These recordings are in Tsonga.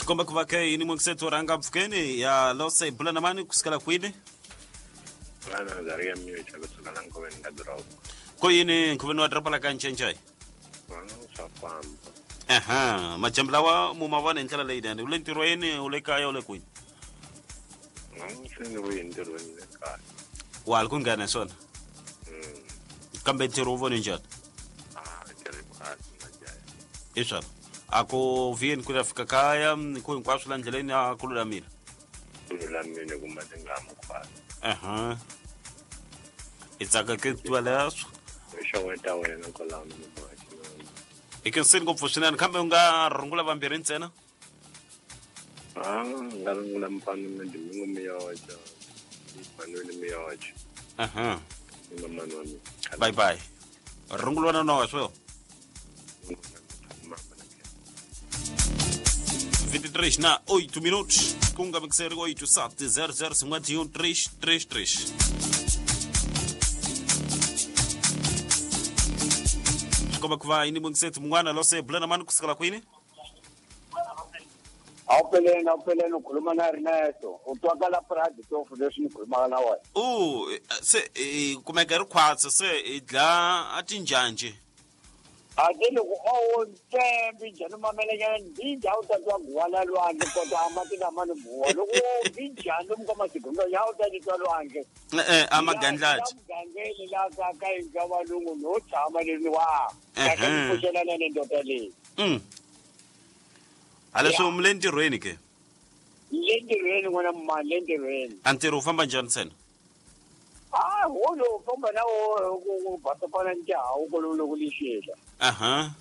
Swi komba ku va ke yini mungiseto rhanga mpfhukeni ya lose bula na mani kusukela kwini? Vana Zaria Miocha kusuka la Nkoveni ka doroba. Ko yini nkoveni wa doroba la ka Ncencai? Vana swa famba. Aha, majambu lawa mu ma vona hi ndlela leyinene. U le ntirhweni, u le kaya, u le kwini? Se ni vuye ntirhweni le kaya. Wa ha ku nghena hi swona? Kambe ntirho wu vone njhani? Ah, ntirho kahle majaha. Hi swona. A ku vuyeni ku ya fika kaya, ku hinkwaswo la ndleleni a ku lulamile. Ku lulamile kumbe ti nga mukhwasa. Aha. I tsaka ke tiva leswo. I xeweta wena kwalaho na muhaxi. I khensini ngopfu swinene kambe u nga rungula vambirhi ntsena? Ah, nga rungula mfana na Domingo Miyocho. Manuel Miyocho. Aha. Ni mamani wa mina. Bye bye. Rungula na nowa swo. 23 na 8 minutos ku nga mixeri 8 7 0 0 51 3 3 3. Swi komba ku va yini mungisethi mun'wana lose bula na mani kusukela kwini? Awupeleni, awupeleni, ukhuluma na Ernesto. U twakala Pride tofu leswi ni khulumaka na wena. U se i kumeka ri khwatsa se i dla a tinjhanji. A ti loko o wo ntsembi njhani mamelenyana mbinja a wu ta twa guwa la lwandle kota a mati lama ni guwa loko wo mbinjhani lomu ka masiku ya wu ta titwa lwandle. E-e, a magandlati. La mugangeni la ka ka yindlu ya valungu no tshama leni wa. Kahle ni pfuxelana ni ndoda leyi. Haleswo mi le ntirhweni ke? Le ntirhweni n'wana mani, le ntirhweni. A ntirho wu famba njhani ntsena? Ah, wo lowu famba na wo ku basopana ni tihawu kolomu loko lixela. Aha.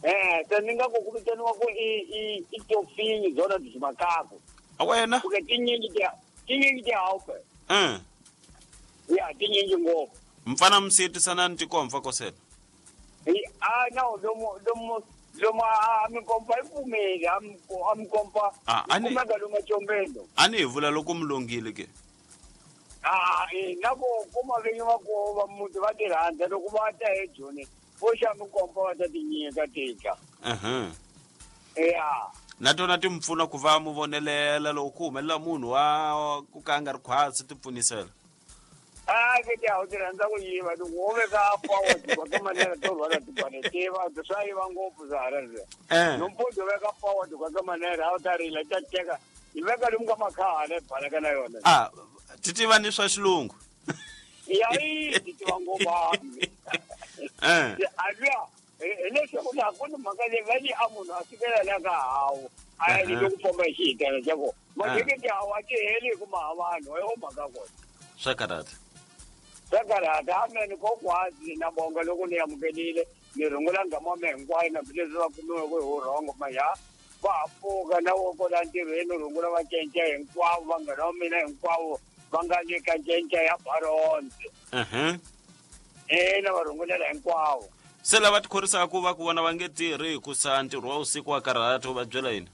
Eh, se ni nga ku ku vitaniwa ku i i i tofinyi zona byi makaku. A wena? Ku ke tinyingi ti tinyingi tihawu pe. Ya tinyingi ngopfu. Mfana msiyetisana ni tikomfa kosela. A no lomu lomu lomu a mikompa yi pfumeli a mikompa. Ah, ani kumeka lomu ecombeni. A ni hi vula loko mi longile ke. Ah, eh, na ku kuma vinyi va ku va muti va ti rhandza loko va ta eJoni vo xa mikompa va ta ti nyika tika. Aha. Ya. Na tona ti mi pfuna ku va mu vonelela loko ku humelela munhu wa ku ka a nga ri khwatsi ti pfunisela. Ah, ke ti hawu ti rhandza ku yiva loko wo veka power ti ka manera to rhwala tibane tiva swa yiva ngopfu swa hala leswiya. Nompundzu veka power ti ka manera a wu ta rila ta teka yi veka lomu ka makhaha le baleka na yona. Ah, ti tiva ni swa xilungu. Ya yi ti tiva ngopfu. A luya hi leswaku laha ku ni mhaka leyi va ni a munhu a sukela la ka hawu a ya loko famba hi xihitana xa kona. Mathikithi hawu a ti heli hi ku ma vanhu hi mhaka kona. Swa karhata. Swa karhata amen kokwazi na bonga loko ni amukelile ni rungula ngama wa mehe hinkwayo na hambileswi va kumiweke hi wurhongo ma ya va ha pfuka na wo kola ntirhweni rungula va cinca hinkwavo vanghana va mina hinkwavo va nga le ka cinca ya Baronze. Ina va rungulela hinkwavo. Se lava tikhorisaka ku va ku vona va nge tirhi hikusa ntirho wa vusiku wa karhata u va byela yini?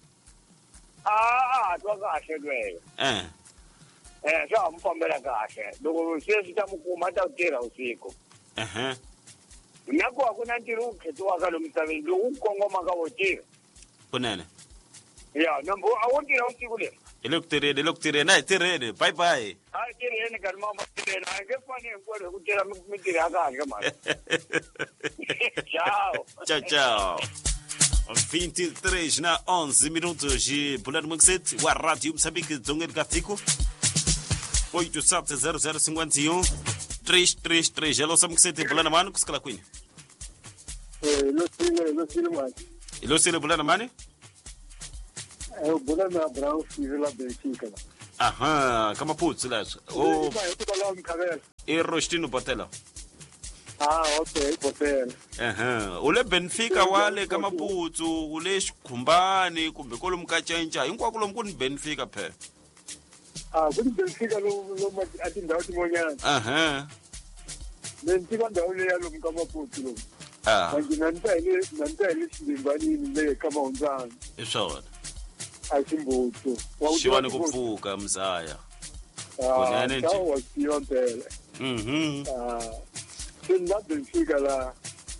A a twa kahle lweyo. Swa ha mu fambela kahle. Loko se swi ta mu kuma a ta ku tirha vusiku. Na ku a ku na ntirho wu khethiwaka lomu misaveni lowu wu kongomaka wo tirha. Kunene. Ya, nambu a wo tirha vusiku leri. Hi le ku tirheni, hi le ku tirheni, a hi tirheni. Bye bye. A hi tirheni nkarhi mama tirheni. A hi nge fani hinkwerhu hi ku tirha mintirho ya kahle mhani. Ciao. Ciao, ciao. 23 na 11 minutos de Bulani Muxet wa Rádio Moçambique dzongeni ka tiko 870051 333. Hello Samuxet, Bulani mani kusukela kwini? Losile mani. Losile Bulani mani? Bulani na Brown Steve la Benfica. Aha, ka Maputo leswo. Oh, i Rostino Botela. Ah, okay, Botela. Aha, u le Benfica wa le ka Maputo, u le Xikhumbani kumbe kwalomu ka Cenca, hinkwako lomu ku ni Benfica phela. Ah, ku ni Benfica lomu a tindhawu tin'wanyana. Aha. Benfica ndhawu leyi ya lomu ka Maputo lomu. Ah. Manje na ni ta hi le na ni ta hi le Xindimbanini le ka Mahundzana. Hi swona. A Ximbutu. Wa ku Xiwani tiva ku pfuka mzaya. Kunene nje. Ah, wa tiva mpela. Ah. Se ni la Benfica la.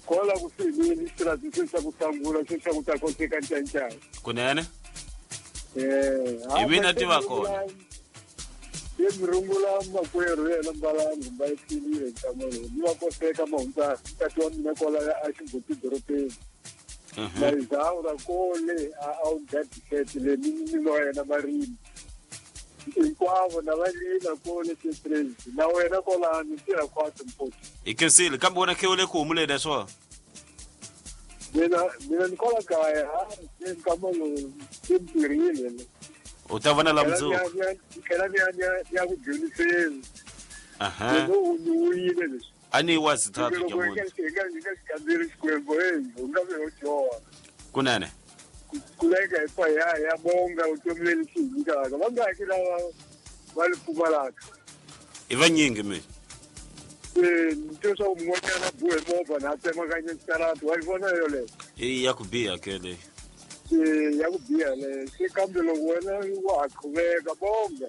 Kola ku sivini xirati se xa ku sangula se xa ku ta koteka ncancana. Kunene? Hi mina tiva kona. Ye murungula makwerhu yena Mbalangu mba ephilile nkamelo ni va koseka mahunta tati wa mina kwala a Ximbuti dorobeni. Na Izaura kole a wu gadisete le ni wa yena marimi. Hinkwavo na va lina kole titrezi na wena kwalano tirha khwatsi mpoti. Hi khensile kambe wena khe u le ku humuleni swo. Mina ni kwala kaya ha nkama lowu se ni tirhile. U ta vona la mundzuku. Tlhela ni ya ku dyondziseni. Loko u ni wuyile leswi. A ni wa zithathu nyamuntlha. Hi nga xi kamberi Xikwembu u nga ve ho dyoha. Kunene. Kuleka hi fa ya bonga vutomi leli xi hi nyikaka. Va nga ki lava va li pfumalaka. I vanyingi mi. Ni twe swa ku mun'wanyana buhe movha na tsemakanya xitarata wa yi vona yoleyo. I ya ku biha ke leyi. Ya ku biha leyo. Se kambe loko wena wa ha qhuveka bonga.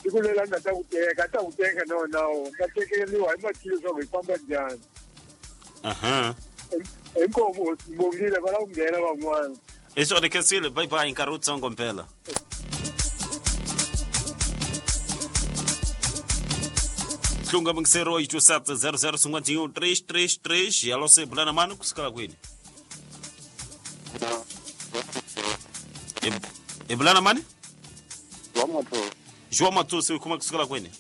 Siku leri a nga ta ku teka, a ta ku teka na wena u nga tekeriwa hi matilo leswaku hi famba njhani. Inkomu bongile va lava ku nghena van'wana. I swona khensile bye bye nkarhi wutsongo mpela. Hlunga mungisero 87 00 51 333 yalo se bulana mani kusukela kwini? E bulana mani? João Matusi u kuma kusukela kwini?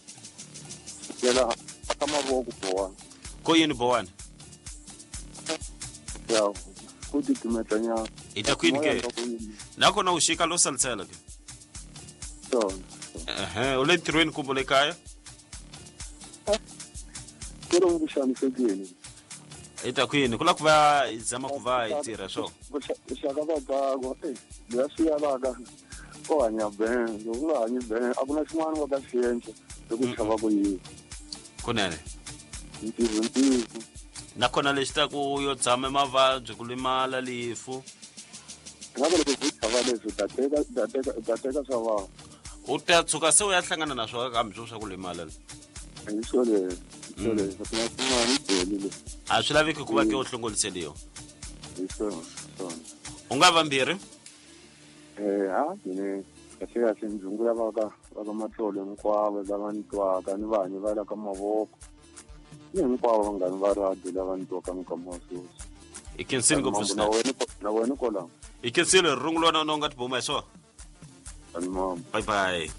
Yela ka mavoko bowani. Ko yini bowani? Ya ku titumetanyana. I ta kwini ke? Nakona u xika lo salisela ke? Swona. U le ntirhweni kumbe le kaya? Ku ri ku xanisekile. I ta kwini? Ku la ku va hi zama ku va hi tirha swo. Ku xaka babako leya swi yavaka ko hanya ben, loko u nga hanyi ben a ku na xin'wana va ka xi endla loko u chava ku yiva. Kunene. Ntirho ntirho. Nakona lexi ta ku yo tshama mavabyi ku limala lifu. Ngabe loko u chava leswi u ta teka swa vanhu. U ta tshuka se u ya hlangana na swona kambe swo swa ku limala. Hi swo leswi. A swi laveki ku va ke u hlongoliseliwa. Hi swona. U nga vambirhi? Ha mina kahle kahle ndzungu ya va ka matlolo hinkwavo lava ni twaka ni vanhu va la ka mavoko. Ni hinkwavo vanghani va radio lava ni twaka minkama wa sweswi. I khensile ngopfu swinene. Na wena kwalaho. I khensile rungula na u nga tibuma hi swona. Bye bye.